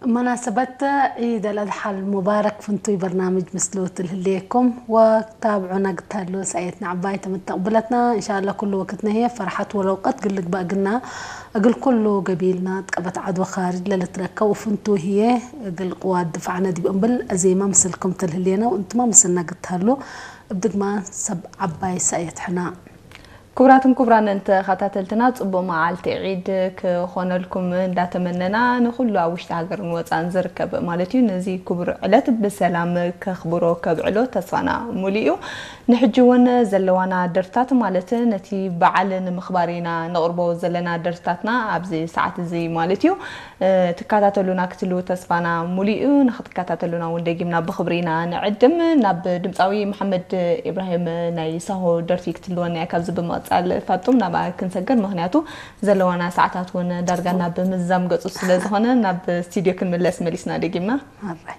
መናሰበት ዒድ ኣልኣድሓ ሙባረክ ፍንቱይ በርናምጅ ምስሉ ትልህልየኩም ወታብዑና ግታሉ ሰኣየትና ዓባይ ተመተቕብለትና እንሻላ ኩሉ ወቅትና ህየ ፈርሓት ወለውቀት ግልግባእ ግና እግል ኩሉ ገቢልና ጥቀበት ዓድወ ካርጅ ለልትረከብ ፍንቱ ህየ እግል ቅዋት ድፋዕነ ዲብ እምብል እዜማ ምስልኩም ትልህልየና እንትማ ምስልና ግታሉ እብ ድግማ ሰብ ዓባይ ሰኣየት ሕና። ክቡራትን ክቡራን ተኸታተልትና ጽቡቕ መዓልቲ ዒድ ክኾነልኩም እንዳተመነና ንኹሉ ኣብ ውሽጢ ሃገርን ወጻን ዝርከብ ማለት እዩ ነዚ ክቡር ዕለት ብሰላም ከኽብሮ ከብዕሎ ተስፋና ሙሉ እዩ። ንሕጂ እውን ዘለዋና ደርታት ማለት ነቲ በዓል ንምኽባር ኢና ነቕርቦ ዘለና ደርታትና ኣብዚ ሰዓት እዚ ማለት እዩ። ትከታተሉና ክትሉ ተስፋና ሙሉ እዩ። ንክትከታተሉና እውን ደጊምና ብኽብሪ ኢና ንዕድም። ናብ ድምፃዊ መሓመድ ኢብራሂም ናይ ሳሆ ደርፊ ክትልወና እያ። ካብዚ ብምቕፃል ፋጡም ናብኣ ክንሰገር፣ ምክንያቱ ዘለዋና ሰዓታት እውን ዳርጋ ናብ ምዛም ገፁ ስለ ዝኾነ ናብ ስቱዲዮ ክንምለስ መሊስና ደጊምና። ኣራይ